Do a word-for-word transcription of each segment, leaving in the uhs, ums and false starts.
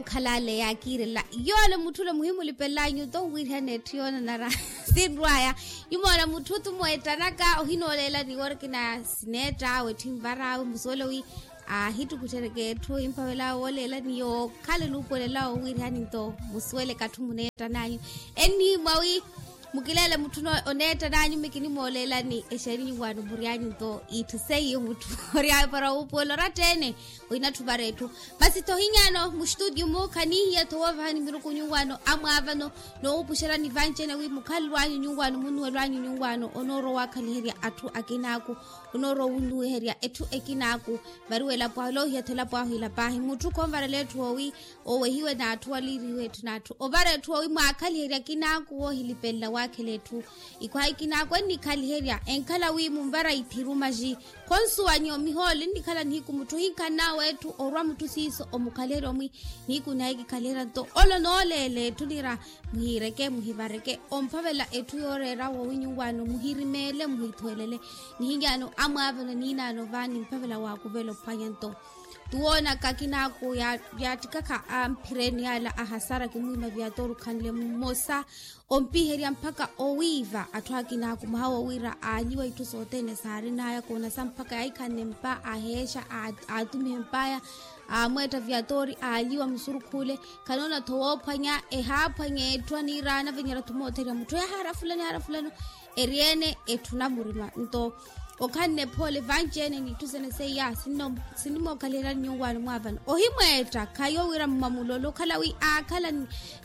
Okhalale yakiirela yoole mutthule muhimulipelanyu to wiirihana etthu yoonanara. Sinrwaya nyumoona mutthu tumweettanaka ohinooleelani woori kina sineetta awe etthu envar'awe musuwele wi aahittukutthereke etthu emphavela wooleelani yookhala enuupuwelela owiirihani nto musuwele katthu muneettananyu. Ennihimwa wi mukileele mutthu oneettananyu mmi kinimooleelani exeeni nyuwaano mury'anyu nto itthu seiyo mutthu ory'awe para wuupuwela oratteene. Ohinatthu vara etthu masi tho ohinyaano mustutio-mu khanihiya tho woovahani miruku nyuwaano amwaavano. Noowupuxerani vanci-ene wi mukhalelo anyu nyuwaano munnuwelo anyu nyuwaano onoorowa owaakhaliherya atthu akinaaku onoorowa owunnuwiherya etthu ekinaaku. Variwa elapo ahu loohiya tho elapo ahu ila paahi mutthu khonvarela etthu owi owehiwe n'atthu waliiriwe etthu n'atthu ovara etthu owi mwaakhaliherya akinaaku woohilipelela waakhela etthu. Ikhwaha ikinaaku ennikhaliherya enkhala wi munvara ithiru maxi khonsuwanyo mihoole nnikhala nihiku mutthu ohinkhan'awe etthu orwa mutthu siiso omukhaliherya omwi nihiku nahikikhaliherya nto olo nooleela etthu nira muhiireke muhivareke omphavela etthu yooreera woowi nyuwaano muhirimeele muhithuwelele. Nihinyaano amwaavano niinaano vaani mphavela waakuvela ophwanya nto tuwoonaka akinaaku yaattikakha amphireni yaala ahasara kimwiima viyatori okhanle mmosa ompiherya mpakha owiiva atthu akinaaku mwaha wo wira aalyiwa itthu sothene saarin'aya koonasa mpakha yaahikhanne mpa aheexa aatumihe mp'aya aamweetta viyatori aalyiwa musurukhu ole. Khanoona tho woophwanya ehaaphwanya etthu aniiraana avenyerya tho mootheriya mutthu ehaara fulano ehaara fulano. Eri-ene etthu namurima nto okhanne phoole vanci-ene n'itthu sene seiya sinimookhaliheryani nyuwaano mwaavano ohimweetta khayo wira mmamulolo okhala wi aakhala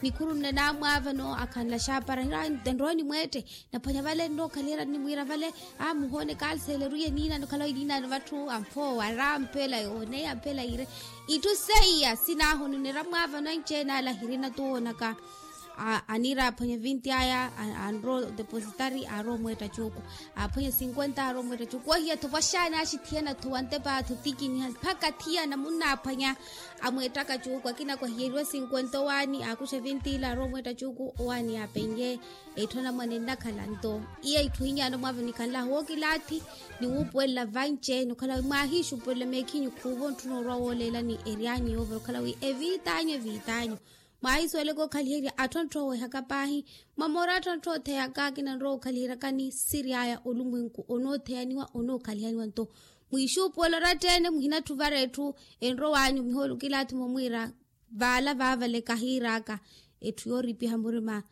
nikhuru nne naamwaavano akhanla xaapara nrowa nimweette. Naphwanya vale nnookhaliheryani nimwiira vale aa muhoone kaalseleruye niinaano okhala wi niinaano vatthu amphoowa ara ampela yoone ampela iire. Itthu seiya sinaahono nira mwaavano anci-ene ala hirina tuwoonaka. Aniira aphwanya vinti aya anrowa odepositari aarowa omweetta cuuku aaphwanya sinkwenta aarowa omweetta cuuku wahiya tho vwaxaani axithiyana tho wantepa tho tikiniha mpakha thiyana munnaaphwanya. Amweettaka cuuku akina kwahiyeriwa sinkwenta owaani aakuxa vinti ila aarowa omweetta cuuku owaani yaapenye. Etthu anamwane nnakhala nto iya itthu ohinyaano mwaavo nikhanlahu wookilaathi niwuupuwelela vanci-ene okhala wi mwaahiixupuwelela meekhinyu khuuvo ntthuna orwa wooleelani ery'anyu yoovira okhala wi eviit'anyu eviit'anyu. Mwaahisuweleke okhaliherya atthu antthu oowehaka paahi mwamoora atthu antthu ootheyaka akina nrowa okhaliheryakani siri aya olumwenku onootheyaniwa onookhaliheryiwa nto mwiixuupuwela oratteene muhinatthuvara etthu enrow'anyu mihoolo kilaathi momwiira vaala vaavale kahiir'aka. Etthu yooripiha murima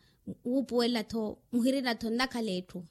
wuupuwela-tho muhirina-tho nnakhala etthu.